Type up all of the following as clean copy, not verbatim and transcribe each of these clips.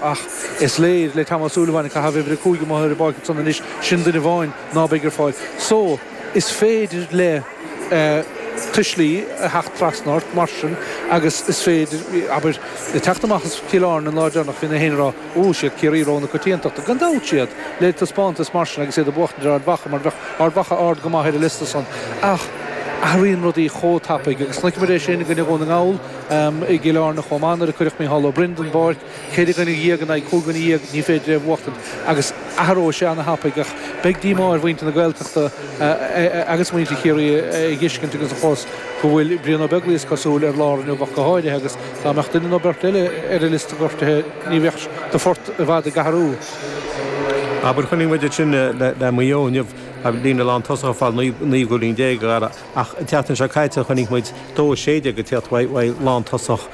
Ach is léir le Tom Ó Súilleabháin ag caitheamh uimhir 5 amuigh ar an bpáirc ansan anois, sin duine amháin ná beidh ar fáil. So, is féidir le tuislí a theacht trasna ort mar sin agus is féidir, abair, ag teacht amach as Cill Airne an lá deireanach bhí na héinne ag rá, Ó, siad Ciarraí rogha na coitiantachta. Gan dabht siad, le taispeántas mar sin agus iad ag buachtaint ar Ard Mhacha mar bheadh Ard Mhacha ard go maith ar an liosta san. Ach athraíonn rudaí chomh tapaidh agus chonaic muid é sin i gcoinne Dhún na nGall i gCill Airne chomh maith nuair a cuireadh Micheál Ó Broin den bpáirc. 14 dhuine in aghaidh 15 dhuine, ní féidir é a bhuachtaint agus athróidh sé ana-thapaidh ach beidh díomá ar mhuintir na Gaeltachta agus muintir Chiarraí a dh'fheiscint agus a chlos go bhfuil Brian Ó Beaglaoich is cosúil ar lár inniu ach go háirithe agus dá mbeadh duine nó beirt eile ar an liosta gortaithe ní bheadh do phort i bhfad ag athrú. Abair, chonaic muid ansin le Maigh Eo inniu, líne lántosach ag fáil 19 gcúilín, a Dhara, ach an tseachtain seo caite chonaic muid 2-16 ag tíocht uaidh lántosach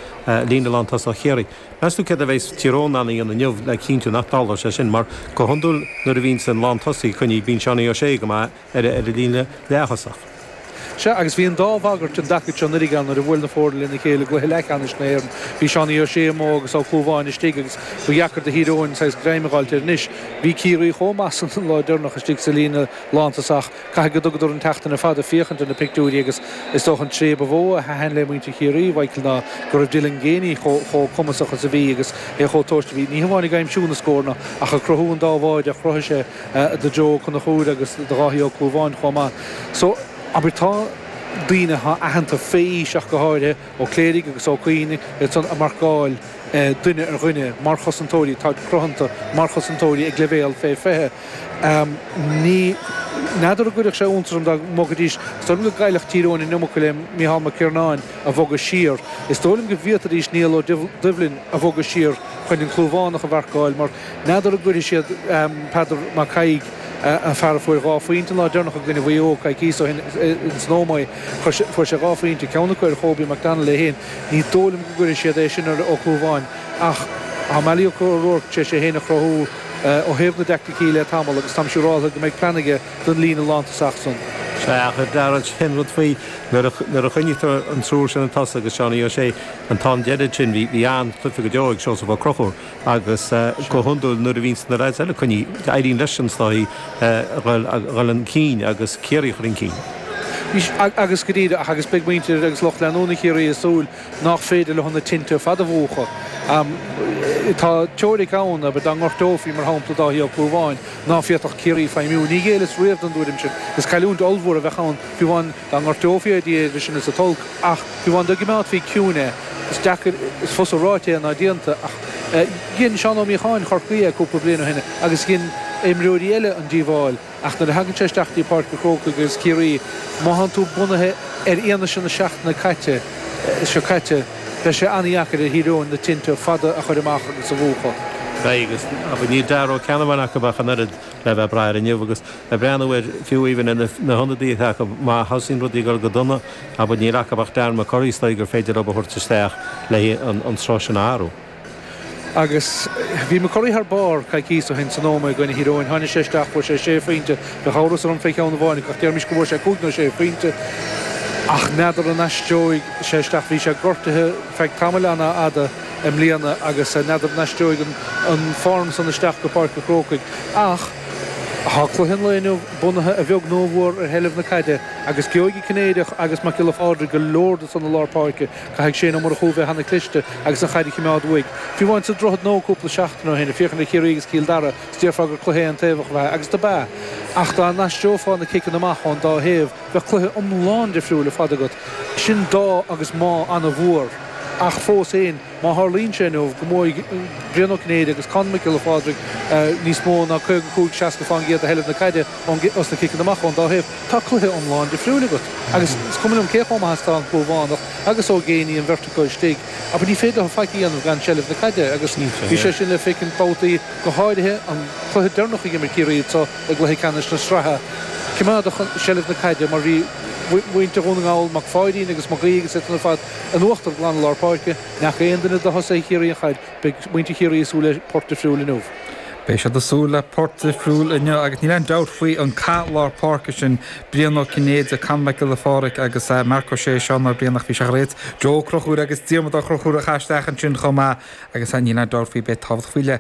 líne lántosach Chiarraí. Meas tú céard a bheas Tír Eoghain in ann a dhéanamh inniu le cinntiú nach dtarlóidh sé sin? Mar go hiondúil nuair a bhíonns an lántosaí coinnithe bíonn Seánie O'Shea go maith ar an líne leath-thosach. Sea, agus bhí an dá bhagairt an dtaca seo anuraidh ann nuair a bhuail na foirne lena chéile i gcluiche leathcheannais na hÉireann. Bhí Seánie O'Shea amuigh agus Ó Clúmháin istigh agus ba dheacair do Thír Eoghain saghas greim a dh'fháilt air anois. Bhí Ciarraí chomh maith san an lá deireanach istigh sa líne lántosach. Caithfidh go dtugadar an tseachtain ar fad ag féachaint ar na pictiúirí agus is dócha an tréith ba mhó a thaitin le muintir Chiarraí, Mhichael, ná go raibh Dylan Geaney chomh cumasach is a bhí agus é chomh tomhaiste a bhí, ní hamháin ag aimsiú na scóranna ach ag cruthú an dá bháide a chruthaigh sé do Joe Ó Conchúir agus do Dháithí Ó Clúmháin chomh maith. So, abair, tá daoine atá aitheanta fé aois ach go háirithe, Ó Cléirigh agus Ó Cuinn, iad san ag marcáil duine ar dhuine mar chosantóirí, táid cruthanta mar chosantóirí ag leibhéal fé 20. Ní n'fheadar an gcuirfeadh sé iontas orm dá mbogfaidís, is dóigh liom go gcaillfeadh Tír Eoghain an iomarca le Micheál Mac Iarnáin a bhogadh siar. Is dóigh liom go bhféadfaidís Niall Ó Doibhlin a bhogadh siar chun an Clúmhánach a mharcáil mar n'fheadar an gcuirfidh siad Peadar Mac Thaidhg, an fear a fuair dhá phointe an lá deireanach i gcoinne Mhaigh Eo coicíos ó shin ins an Ómaigh, fuair sé dhá phointe, ceann acu ar Kobe McDonald é féin. Ní dóigh liom go gcuirfidh siad é sin ar Ó Clúmháin ach tá Malachy O'Rourke tar éis é féin a chruthú. ó thaobh na dteaicticí le tamall agus táim siúráltha go mbeidh plean aige don líne lántosach san. Sea, ach a Dhara, sin rud faoi, nuair a choinnítear an triúr sin ag tosach agus Seánie O'Shea an t-am deiridh sin, bhí an-chluiche go deo ag Seosamh Ó Conchúir agus go hiondúil nuair a bhíonns na leaids eile coinnithe, éiríonn leis an is dóigh a dhul chun cinn agus Ciarraí a chur chun cinn. Agus go díreach, agus beidh muintir agus lucht leanúna Chiarraí ag súil nach féidir leo na tinte ar fad a mhúchadh. Tá teoiric ann, abair, dá ngortófaí, mar shampla, Dáithí Ó Clúmháin, ná féadfadh Ciarraí feidhmiú. Ní ghéilleas riamh don dtuairim sin. Is cailliúint ollmhór a bheadh ann, fiú amháin dá ngortófaí é, Dia idir sinn is an t-olc, ach fiú amháin dá gcimeádfaí ciúin é, is deacair, is fusa ráite é ná déanta, ach dhein Seán Ó Míocháin Chorcaí é cúpla bliain ó shin agus dhein imreoirí eile an díobháil. Ach nuair a thagann sé isteach dtí Páirc an Chrócaigh agus Ciarraí, má thánn tú bunaithe ar fhianaise na seachtaine caite, seo caite, beidh sé an-dheacair ar Thír Eoghain na tinte fada a chur amach agus a mhúchadh. Beidh, agus abair, níl Dara Ó Ceannabháin acu ach an oiread le bheith ag brath air inniu agus ag breathnú ar fiú even ar na hionadaithe atá acu, má thosaíonn rudaí ag dul go dona, abair, níl acu ach Darren McCurry is dóigh gur féidir leo a thabhairt isteach le an sruth sin a athrú. Agus bhí McCurry thar barr coicíos ó shin san Ómaigh i gcoinne Thír Eoghain. Tháinig sé isteach, fuair sé sé phointe. Bheadh amhras orm fé cheann amháin ach déarfaimis go bhfuair sé cúig nó sé phointe. Ach n'fheadar an aistreoidh sé isteach. Bhí sé gortaithe feadh tamaill an-fhada i mbliana agus n'fheadar an aistreoidh an form san isteach go Páirc an Chrócaigh. Ach tá cluiche an lae inniu bunaithe a bheag nó a mhór ar sheilbh na caide agus gheobhaidh an Cinnéideach agus Mac Giolla Phádraig go leor de san i lár páirce. Caithfidh Shane Ó Murchú bheith ana chliste agus an chaid a chimeád uaidh. Fiú amháin sa Droichead Nua cúpla seachtain ó shin, ag féachaint ar Chiarraí agus Cill Dara, is déarfá gur cluiche aontaobhach ab ea, agus do b'ea. Ach dá n-aistreofá na ciceanna amach ón dá thaobh, bheadh cluiche iomlán difriúil ar fad agat. Sin dá agus má ana mhór. Ach fós fhéin, má tharlaíonn sé inniu go mbuafaidh Brian Ó Cinnéide agus Conn Mac Giolla Phádraig níos mó ná 55, 60% de sheilbh na caide os na ciceanna amach ón dá thaobh, tá cluiche iomlán difriúil agat. Agus is cuma liom cé chomh maith is atá an Clúmhánach agus Ó Géibheannaigh, an bheirt acu istigh, abair ní féidir leo faic a dhéanamh gan seilbh na caide agus bhí sé sin le feicint babhtaí, go háirithe an cluiche deireanach a d'imir Ciarraí anseo i gcluiche ceannais na sraithe. Coimeádadh seilbh na caide mar bhí muintir Dhún na nGall, Mac Pháidín agus Mac Aoidh agus iad san ar fad in uachtar glan i lár páirce. Ní fhaca aon duine de thosaithe Chiarraí an chaid. Beidh muintir Chiarraí ag súil le port difriúil inniu. Beidh siad ag súil le port difriúil inniu agus níl aon dabht faoi an cath lár páirce sin, Brian Ó Cinnéide, Conor Mac Giolla Phádraig agus Marc Ó Sé, Seán Ó Briain ach bhí sé tar éis Joe Ó Conchúir agus Diarmuid Ó Conchúir a chaith isteach ansin chomh maith agus níl aon dabht faoi beidh tábhacht faoi leith.